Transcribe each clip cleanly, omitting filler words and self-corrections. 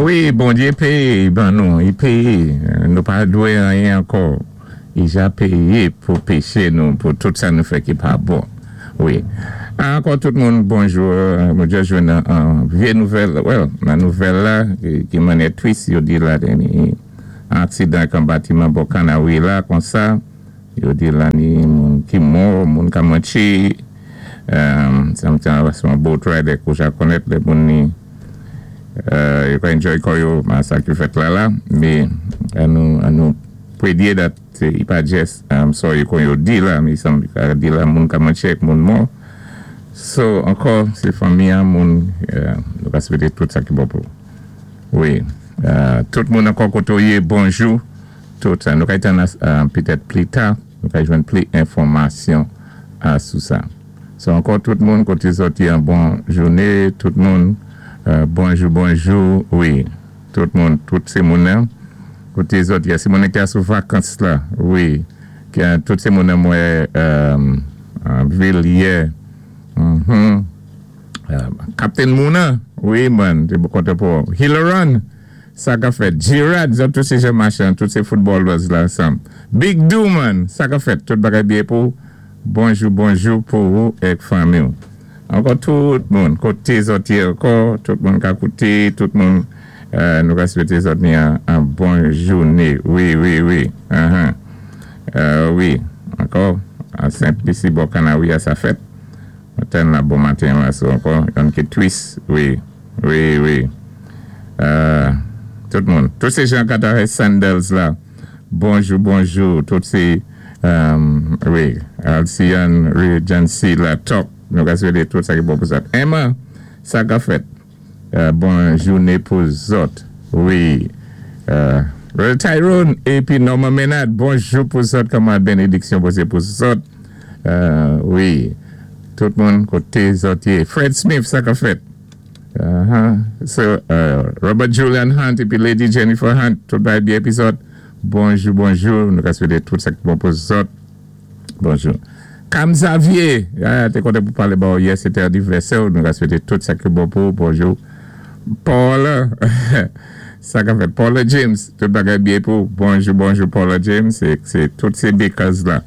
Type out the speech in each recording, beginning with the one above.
Wi, Bondyé péyé ban nou, i péyé. Nou pa dwé anyen ankò. I ja péyé pou péché nou, pou tout sa nou fè ki pa bon. Wi. Ankò tout moun, bonjou. Mwen just jwenn an vyé nouvèl, well, nan nouvèl la, ki mannyè tris, yo di la ni aksidan kan batiman bò Kanawi la konsa, yo di la ni moun ki mò, moun ka mantché, sometimes son boat ride kou ja konnèt lè moun ni yo ka enjoy kò yo, ma sa ki fèt la la, mé an nou prédyé that i pa just, I'm sorry kon yo di la, mi sanm ka di la moun ka mantché ek moun mò. So, ankò, sé fanmi an moun, nou ka swété tout sa ki bon pou. Wi, tout moun ankò koté ou yé, bonjou, tout sa. Nou ka tann petèt pli ta, nou ka jwenn pli enfòmasyon sou sa. So, ankò tout moun koté zòt yé an bon jouné, tout moun, bonjou, bonjou, wi, tout moun, tout sé moun nan, koté zòt yé, sé moun ki a sou vakans la, wi, tout sé moun nan mwen vil yé, Captain Mouna, wi man, té kontan pou Hilaron, sa ka fèt. Girard, zòt tout sé jan machan, tout sé footballers la ansanm. Big Do man, sa ka fèt, tout bagay byen pou bonjou, bonjou pou ou ek fanmi ou. Ankò tout moun, koté zòt yé ankò, tout moun ka kouté, tout moun, nou ka swété zòt ni an bon jouné. Wi. Wi, ankò, an Senplisi bò Kanawi a sa fèt. Maten la, bon maten la, so ankò, yon ki twis, wi. Tout moun, tout sé jan Katare Sandals la, bonjou, bonjou, tout sé, wi, Alcian Regency la, top, nou ka swété tout sa ki bon pou zòt. Emma, sa ka fèt, bon jouné pou zòt, wi. Brother Tyrone, épi Norman Menard, bonjou pou zòt, kòman bénédiksyon Bondye pou zòt, wi, tout moun koté zòt yé. Fred Smith, sa ka fèt. So, Robert Julian Hunt épi Lady Jennifer Hunt, tout bagay byen épi zòt. Bonjou, bonjou, nou ka swété tout sa ki bon pou zòt. Bonjou. Cam Xavier, té kontan pou palé ba ou yè, sé té anivèsè ou, nou ka swété tout sa ki bon pou ou, bonjou. Paula, sa ka fèt. Paula James, tout bagay byen pou ou. Bonjou, bonjou Paula James, sé tout sé bakers la.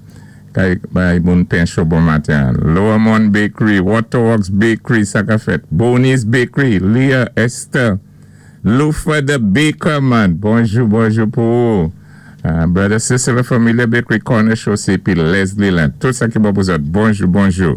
Kay bay moun pen cho bon maten. Lower Mon Bakery, Waterworks Bakery, sa ka fèt. Bonnie's Bakery, Leah Esther, Lufa the Baker man, bonjou, bonjou pou ou. Brother Cecil Familia Bakery, Corner Show, épi Leslie Land. Tout sa ki bon pou zòt. Bonjou, bonjou.